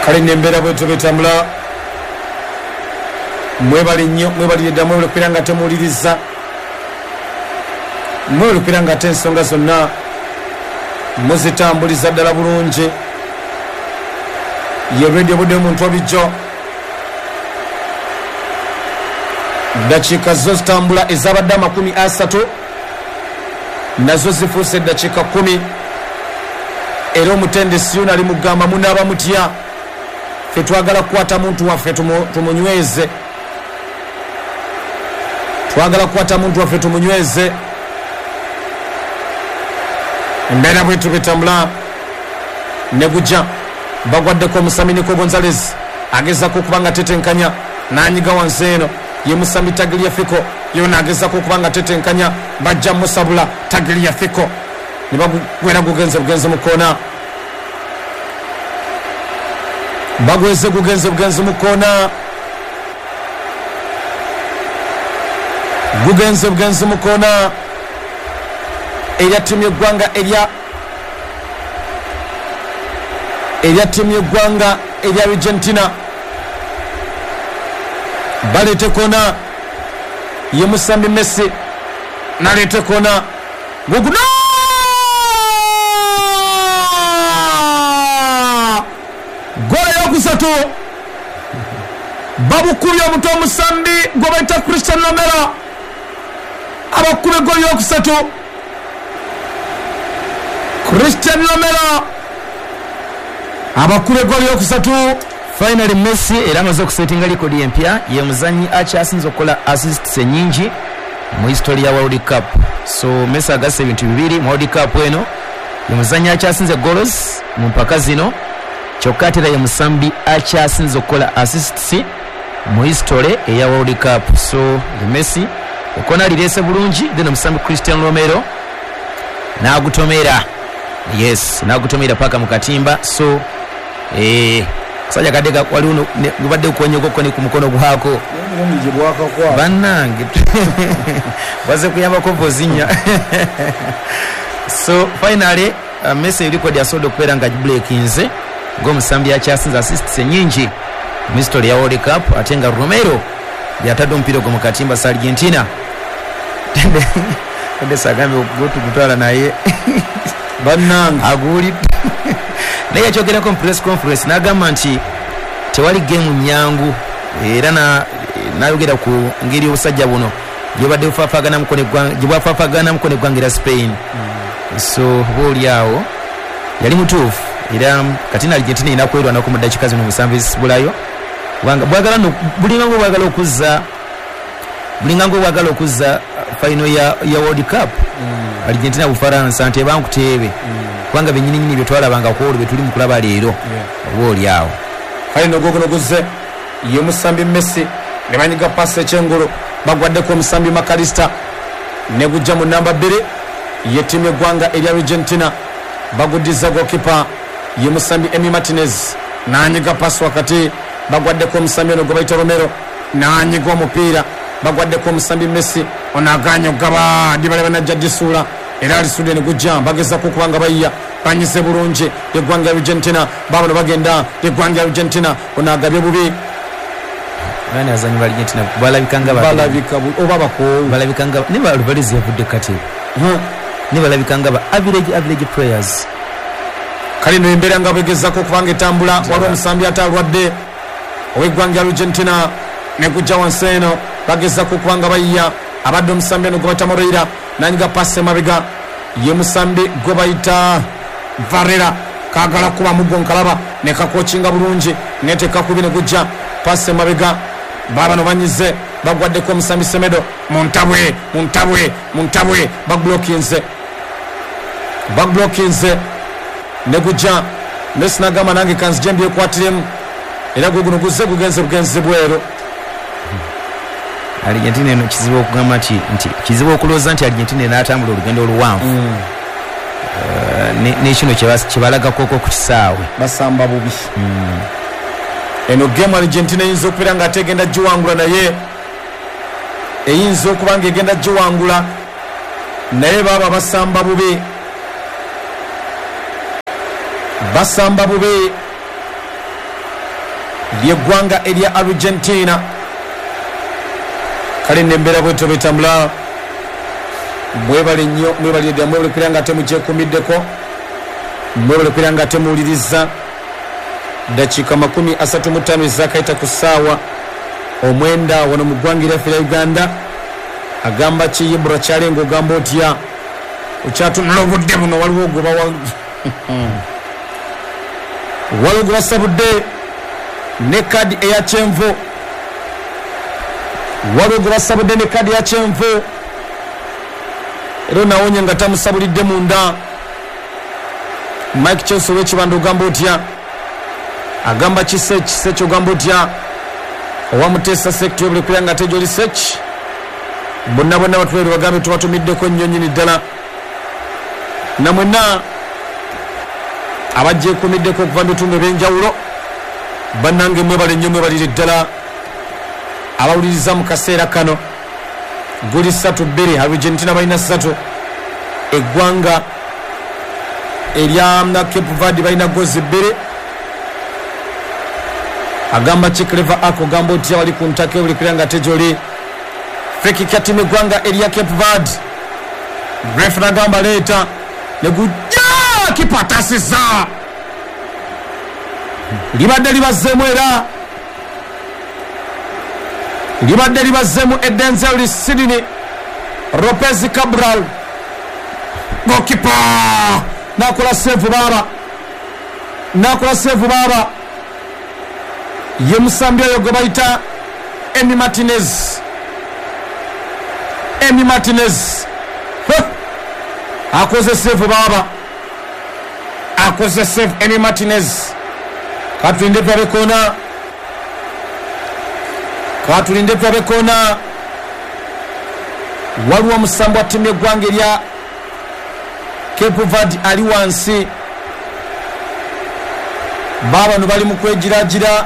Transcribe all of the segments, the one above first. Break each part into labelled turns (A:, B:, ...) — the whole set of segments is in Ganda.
A: Kale n'embeera bwetyo bwetambula. Mwebale nnyo, mwebalire ddala, mwebale okubeera nga temuwuliriza, mwebale okubeera nga ate ensonga zonna muzitambuliza ddala bulungi. Ye Radio Budde omuntu obijjo. Dakiika zo zitambula ezabadde 30 nazo zifuuse eddakiika kkumi era omutendesi yona ali mugamba munaaba mutya, ffe twagala kukwata muntu waffe tumunyweze, twagala kukwata muntu waffe tumunyweze. Embeera bwetyo bwetambula ne guja bagwaddeko omusambi Nico Gonzalez agezaako okuba nga atetenkanya n'anyiga wansi eno ye musambi Tagliafico yona agezaako okuba nga atetenkanya bajja musabula Tagliafico ne bagwera gugenze bugenzi mu koona, bagweze gugenze bugenzi mu koona, gugenze bugenzi mu koona erya ttiimu y'eggwanga erya erya ttiimu y'eggwanga erya Argentina. Baleete koona ye musambi Messi naleete koona guguno goolo eyokusatu babukubye omuto omusambi gwebaita Christian Romero abakuba egoolo eyokusatu. Christian Romero abakuba egoolo eyokusatu.
B: Finally Messi era amaze okusetinga likodi empya, ye muzanyi akyasinze okukola assists enyingi mu history ya World Cup. So Messi agasse ebintu bibiri mu World Cup eno, ye muzanyi akyasinze goals mu mpaka zino, kyokka ate era ye musambi akyasinze okukola assists mu history eya World Cup. So ye Messi ekona alirese bulungi, then omusambi Christian Romero n'agutomera, yes, n'agutomera paka mu katimba. So kasajja kadde waliwo gubadde gukonyeeko ni ku mukono gwako bannange baze kuyambako Vozinha. So finally Messi record asobodde okubeera nga agibreakinze ng'omusambi akyasinze assists enyingi mu history ya World Cup, ate nga Romero yatadde omupiira ogwo mu katimba sa Argentina. Tendesi agambye gutugutwala naye
A: bannange
B: aguwulidde, naye yakyogerako mu press conference n'agamba nti tewali geemu nyangu, era n'ayogera ku ngeri obusajja buno gyebadde bwafaafaganamuko n'eggwanga erya Spain. So oba oli awo yali mutuufu, era kati na Argentina erina kwerwanako mu ddakiika zino 7 ezisibulayo, kubanga bwagala no bulinga ng'obwagala okuzza, bulinga ng'obwagala okuzza final ya World Cup Argentina Bufaransa nti ebankuteebe, kubanga bennyininyini bye twalabanga ku olwo bye tuli mu kulaba leero, oba oli awo.
A: Kale nogoguno guzze ye musambi Messi ne banyiga pasi ekyengulu bagwaddeko omusambi Makalista ne gujja mu namba 2 ye ttiimu y'eggwanga erya Argentina. Baguddiza gokipa ye musambi Emi Martinez n'anyiga pasi wakati bagwaddeko omusambi ono gwe bayita Romero n'anyiga omupiira bagwaddeko omusambi Messi ono aganye okugaba Dybala najja gisuula era alisudde ne gujja bagezaako okuba nga bayiya banyize bulungi eggwanga lya Argentina. Baabano bagenda eggwanga lya Argentina ono agabye bubi.
B: Bani abazanyi ba Argentina balabika nga
A: balabika oba bakoowu,
B: balabika nga ne Alvarez yavudde katebe ne balabika nga ba average players.
A: Kale no embeera nga bwegezaako okubanga etambula, waliwo omusambi ate alwadde ow'eggwanga lya Argentina ne gujja wansi eno bagezaako okuba nga bayiya abadde omusambi ono gwe bayita Moreira nanyiga pasi emabega ye musambi gwe bayita Varela kagala kuba muggo nkalaba ne kakokinga bulungi netekakubi ne gujja pasi emabega babano banyize bagwaddeko omusambi Semedo muntabwe muntabwe muntabwe bagblockinze ne gujja Messi nagamba nange kanzije mbyekwatiremu era gwe guno guzze gugenze bugenzi bweru.
B: Argentina eno kizibu okugamba nti kizibu okulowooza nti Argentina enaatambula olugendo oluwanvu n'ekino kyebalagako ku kisaawe
A: basamba bubi. Eno game Argentina eyinza okubeera nga ate egenda giwangula, naye eyinza okuba nga egenda giwangula naye baba basamba bubi, basamba bubi. Ly'eggwanga erya Argentina. Kale nembeera bwetyo bwetambula. Mwebale nnyo, mwebalire ddala, mwebale kubeera nga temugyekuumiddeko, mwebale kubeera nga temuwuliriza. Dakiika 35 ezakayita ku ssaawa 9 wano mu ggwanga eryaffe erya Uganda. Agamba ki Ibra Kyalenga, ogamba otya? Okyatunula obudde buno, waliwo gwe waliwo gwe basabudde ne kadi eya kyenvu, waliwo gwe basabudde ne kadi eya kyenvu, era onawonye nga tamusabulidde munda. Mike Chelsea ow'Ekibanda, ogamba otya? Agamba ki Sech? Sech ogamba otya? Owa Muteesa Sect, webule kubeera nga ate gyoli Sech. Bonna bonna batubeere bagambe tubatumiddeko nnyo nnyini ddala, namwenna abajjekuumiddeko okuva mu bitundu ebyenjawulo. Bannange mwebale nnyo, mwebalire ddala abawuliriza mu kaseera kano. Guli 3-2, Argentina balina 3, eggwanga erya Cape Verde balina gozi 2. Agamba ki Clever Ako, ogamba otya? Wali ku ntaka buli kubeera nga ate gyoli. Free kick ya ttiimu eggwanga erya Cape Verde. Ref nagamba leeta, ne gujja, kipa atasiza, libadde libazzeemu, era libadde libazzeemu. Edenzel Sidney Lopez Cabral, gokipa nakola save baaba, nakola save baaba. Ye musambi oyo gwe bayita Emi Martinez, Emi Martinez akoze save baaba, akoze save Emi Martinez. Katulinde tulabe kona, katulinde tulabe kona. Waliwo omusambi wa ttiimu y'eggwanga erya Cape Verde ali wansi. Baabano bali mu kwegiragira,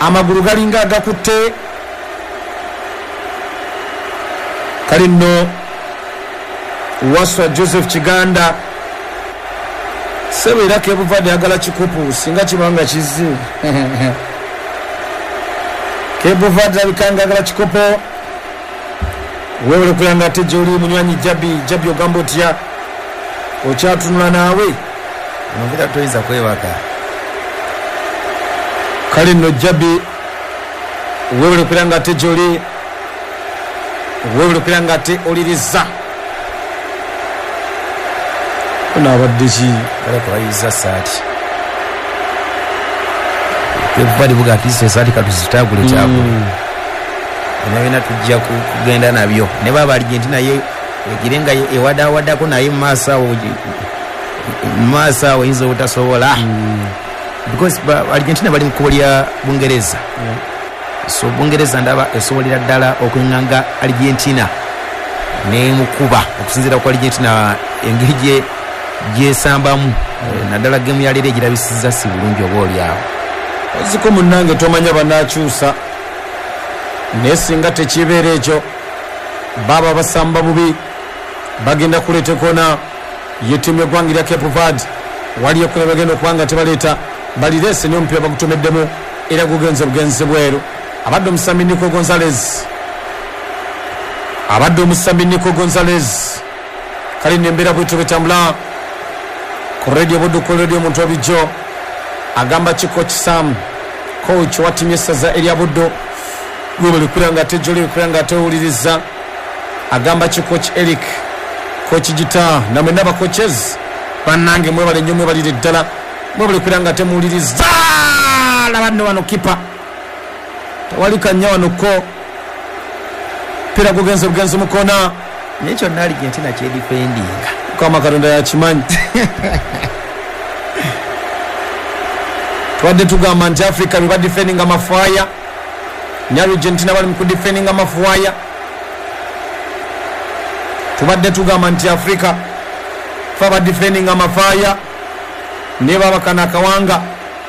A: amagulu galinga agakutte. Kale nno Waswa Joseph Kiganda sebo, era Cape Verde ayagala kikopo, singa kiba nga kizze. Cape Verde alabika nga ayagala kikopo. Weewale okubeera nga ate gyoli munywanyi Jabi. Jabi, ogamba otya? Okyatunula naawe?
B: Omupiira toyinza kwebaka.
A: Kale nno Jabi, weewale okubeera nga ate gyoli, weewale okubeera nga ate oliriza. Ono abadde ki?
B: Baleka bayiza saati. Cape buga at least esaati katuzitagule kyagule. Byonna byonna tujja kugenda nabyo. Ne baba Argentina ye egire nga ewadawadako naye mu maaso awo, mu maaso awo eyinza obutasobola. Because Argentina bali mu kkubo lya Bungereza. So Bungereza ndaba esobolera ddala okweŋŋanga Argentina n'emukuba, okusinziira ku Argentina engeri gye gyesambamu, naddala gemu ya leero egirabisizza si bulungi oba oli awo.
A: Oziko munnange, tomanya banaakyusa, naye singa tekibeera ekyo, baaba basamba bubi, bagenda kuleeta ekona ye ttiimu y'eggwanga erya Cape Verde. Waliyo ekona bagenda okuba nga tebaleeta, balireese, naye omupiira bagutomeddemu era gugenze bugenzi bweru. Abadde omusambi Nico Gonzalez, abadde omusambi Nico Gonzalez. Kale nembeera bwetyo bwetambula ku Radio Buddu, ku radio omuntu wabijjo. Agamba ki Coach Sam, coach wa ttiimu y'essaza erya Buddu? Webale kubeera nga ate gyoli, kubeera nga ate owuliriza. Agamba ki Coach Eric, Coach Gita, namwenna aba coaches bannange, mwebale nnyo, mwebalire ddala, mwebale kubeera nga temuwuliriza. Laba nno wano kipa, tewali kanya wano ko pira gugenze bugenzi mukona.
B: Naye kyonna Argentina kyedifendinga.
A: Mukama Katonda yakimanyi. Twadde tugamba nti Africa bye badifendinga mafuaya, ne Argentina bali mu kudifendinga mafuaya. Tubadde tugamba nti Africa fe abadifendinga mafaaya, naye baba kano akawanga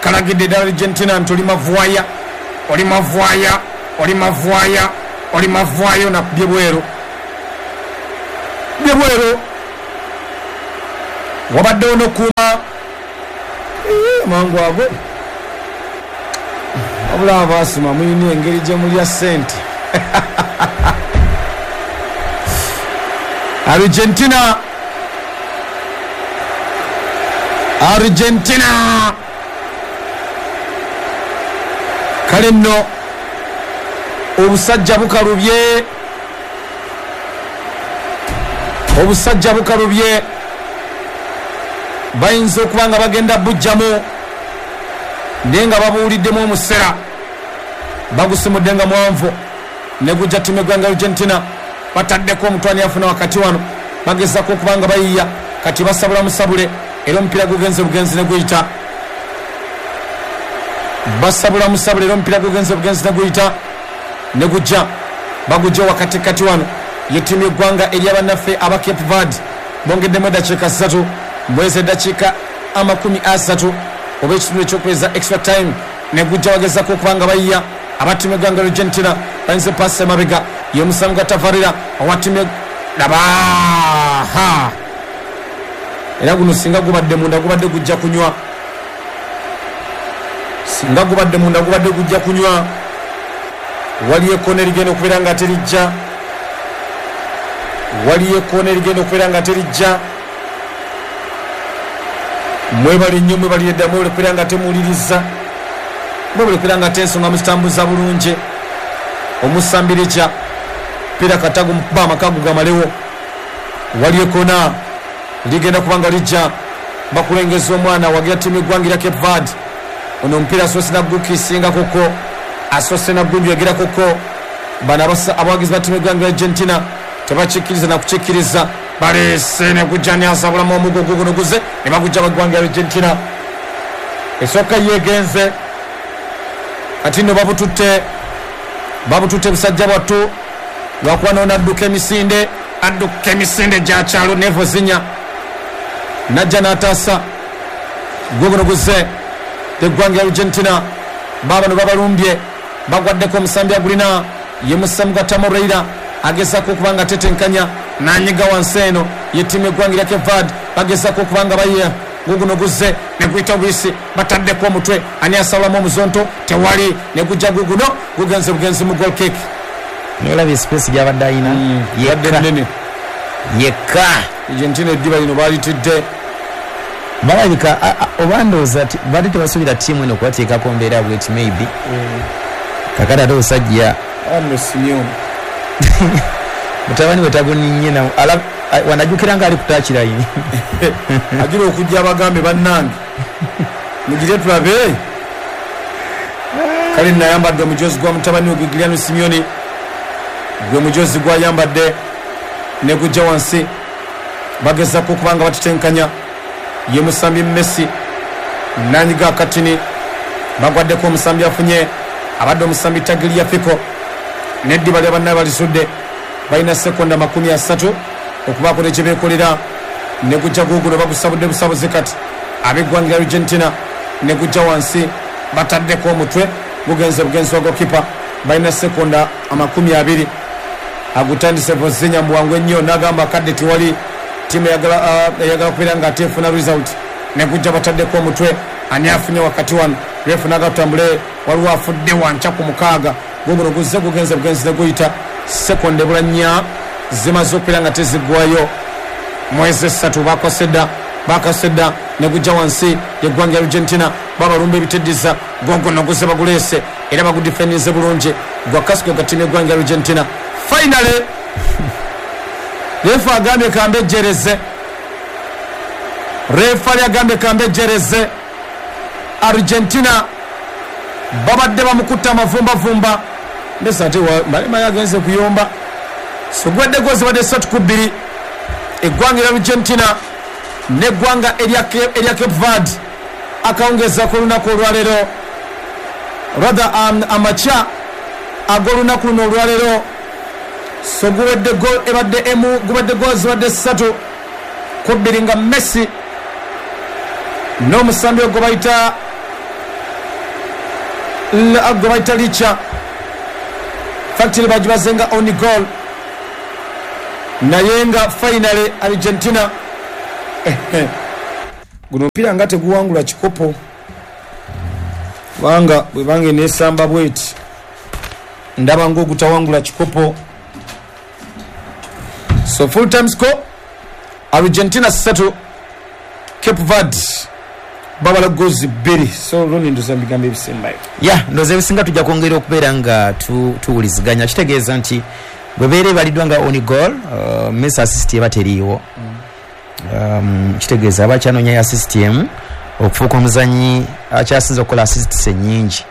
A: kalagidde ddala Argentina nti oli mavuaya, oli mavuaya, oli mavuaya, oli mavuaya. Nakubye bweru, bye bweru. Wabaddewo n'okuuma mangu ago. Wabula abaasoma mulina engeri gye mulya ssente. Argentina Argentina kale nno obusajja bukalubye obusajja bukalubye bayinza okuba nga bagenda bujjamu naye nga babuwuliddemu omusera bagusimudde nga mwanvu ne gujja ttiimu y'eggwanga Argentina bataddeko omutwani afuna wakati wano bagezako okuba nga bayiya kati basabula musabule era omupiira gugenze bugenzi ne guyita basabula musabule era omupiira gugenze bugenzi ne guyita ne gujja bagujja wakati kati wano ye ttiimu y'eggwanga erya bannaffe aba Cape Verde bongeddemu eddakiika ssatu mwezi eddakiika 30 oba ekitundu ekyokweza extra time ne gujja bagezako okuba nga bayiya aba ttiimu y'eggwanga Argentina bayinza paasi emabega y'omusango gwa Tavarera owa ttiimu laba ha era guno singa gubadde munda gubadde gujja kunywa singa gubadde munda gubadde gujja kunywa waliyo ekkoona erigenda okubeera nga terijja waliyo ekkoona erigenda okubeera nga terijja mwebale nnyo mwebalire ddala mwebale kubeera nga temuwuliriza mwebale kubeera nga ate ensonga muzitambuza bulungi omusambirija pira katagu mukuba amakagu gamalewo waliyo ekkoona ligenda kuba nga lijja bakulengeza omwana wagira ttiimu y'eggwanga erya Cape Verde ono omupiira asoose nagukisingakoko asoose nagunjwegerakoko bano abawagizi ba ttiimu y'eggwanga Argentina tebakikkiriza nakukikkiriza baleese ne gujja nyasabulamu omugo guguno guze ne bagujja baggwanga Argentina esooka yegenze kati nno babututte babututte busajja bwattu lwakuba nono adduka emisinde adduka emisinde gya kyalo nevo zinya najja n'ataasa guguno guze eggwanga Argentina baabano babalumbye bagwaddeko omusambi agulina ye Musamuga Tamoreira agezaako okuba nga tetenkanya nanyiga wansi eno ye ttiimu y'eggwanga erya Cape Verde bagezaako okuba nga bayiya guguno guzze ne guyita buyisi bataddeko omutwe ani asawulamu omuzonto tewali ne gujja guguno gugenze bugenzi mu goal kick.
B: Nolabye space gyabadde alina
A: yekka nnene
B: yekka.
A: Argentina eddiba lino baalitidde
B: balabika oba ndowooza badde tebasuubira ttiimu eno kubateekako mbeera bweti maybe kakati ate obusajja
A: nno Simeone
B: mutabani we taguninye na wanajjukira nga ali kutakirayi
A: agira okujja abagambe bannange mugire tulabe kale nayambadde omujozi gwa mutabani we Giuliano Simeone gwe mujozi gwayambadde ne gujja wansi bagezako okuba nga batetenkanya ye musambi Messi nanyiga akatini bagwaddeko omusambi afunye abadde omusambi Tagliafico neddiba lya bannaye balisudde balina sekonda 30 okubaako ne kyebeekolera ne gujja guguno bagusabudde busabuzi kati ab'eggwanga lya Argentina ne gujja wansi bataddeko omutwe gugenze bugenzi wa gokipa balina sekonda 20 agutandise Vozinya mu bwangu ennyo n'agamba kadde tewali ttiimu eyagala kubeera nga ate efuna result ne gujja bataddeko omutwe ani afunye wakati wano refu n'agatambule waliwo afudde wanca ku mukaaga guguno guzze gugenze bugenzi ne guyita sekonda ebula nnya zimaze okubeera nga teziggwayo mwezi esatu bakasedda ne gujja wansi y'eggwanga Argentina babalumba ebiteddiza gogono guze baguleese era bagudifendinze bulungi gwa kasiko ga ttiimu y'eggwanga Argentina finally refu agambye kambejjereze refali agambye kambejjereze Argentina babadde bamukutta amavumbavumba mbese ate malema yagenze kuyomba so gwadde gozi badde 3-2 eggwanga lya Argentina n'eggwanga erya Cape Verde akawungeza ku lunaku olwaleero rather amakya ag'olunaku luno olwaleero so guwedde goal ebadde emu gubadde goal zibadde 3-2 nga Messi n'omusambi ogwo bayita Licha factory bagibaze nga on goal naye nga finally Argentina guno omupiira nga teguwangula kikopo Kubanga bwebanga eneesamba bweti, ndaba ng'ogutawangula kikopo. So full time score, Argentina 3, Cape Verde babala gozi 2. So Ronnie, ndoza bigambo ebisembayo.
B: Ya, ndoza ebisinga tujja kwongera okubeera nga tuwuliziganya. Kitegeeza nti bwebeera ebaliddwa nga own goal, Messi assist eba teriiwo. Kitegeeza aba akyanoonya assist emu okufuuka omuzanyi akyasinze okukola assists ennyingi.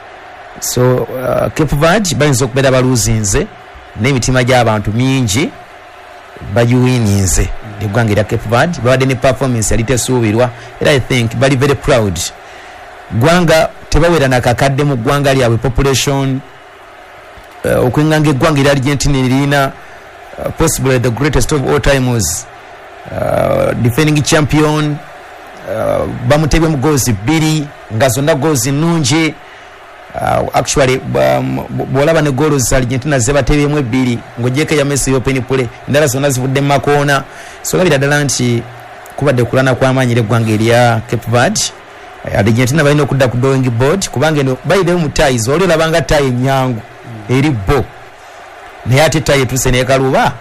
B: So Cape Verde bayinza okubeera baluzinze n'emitima gy'abantu mingi bagiwininze. Eggwanga erya Cape Verde babadde ne performance yali tesuubirwa, era I think bali very proud. Ggwanga tebawera nakakadde mu ggwanga lyabwe population, okwenganga eggwanga erya Argentina erina possibly the greatest of all times, defending champion, bamutebye mu goals 2 nga zonna goals nnungi. Actually bw'olaba ne goals Argentina zebatebyemu 2 ng'ogyeko eya Messi open play, endala zonna zivudde mu makoona. So olabira ddala nti kubadde kulwana kw'amaanyi era eggwanga erya Cape Verde. Argentina balina okudda ku drawing board, kubanga eno bayireyo mu ties, oli olabanga tie ennyangu eri bo, naye ate tie etuuse nekaluba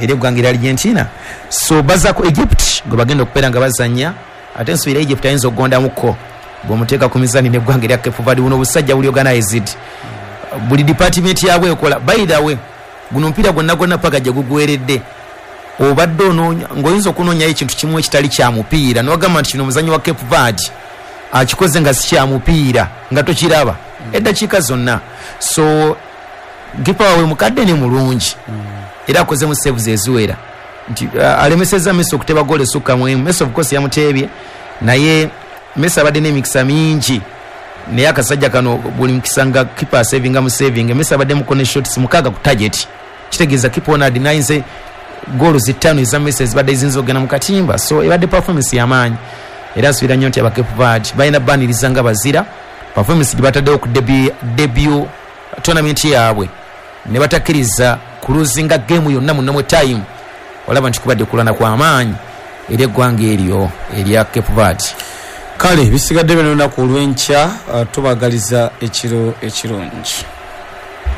B: eri eggwanga erya Argentina. So baza ku Egypt gwe bagenda okubeera nga bazannya, ate nsuubira Egypt ayinza okugondamuko bw'omuteeka ku mizani n'eggwanga erya Cape Verde. Buno obusajja buli organized, buli department yabwe ekola. By the way, guno omupiira gwonna gwonna paka gye gugweredde obadde onoonya ng'oyinza okunoonyayo ekintu kimu ekitali kya mupiira n'ogamba nti kino omuzannyi wa Cape Verde akikoze nga si kya mupiira, nga tokiraba eddakiika zonna. So kipa waabwe mukadde ne mulungi, era akozemu saves eziwera nti alemesezza Messi okuteba goal esukka mu emu. Messi of course yamuteebye, naye Messi abadde n'emikisa mingi, naye akasajja kano buli mukisa nga kipa asavinga mu saving. Messi abadde muko ne shots 6 ku target, kitegeeza kipa ono adinayize goals 5 eza Messi ezibadde ziyinza okugenda mu katimba. So ebadde performance y'amaanyi, era nsuubira nnyo nti aba Cape Verde balina baniriza nga bazira performance gye bataddewo ku debut tournament yaabwe, ne batakkiriza kuluzinga game yonna mu normal time. Olaba nti kubadde kulwana kw'amaanyi eri eggwanga eryo erya Cape Verde.
A: Kale bisigadde bino olunaku olw'enkya, tubagaliza ekiro ekirungi.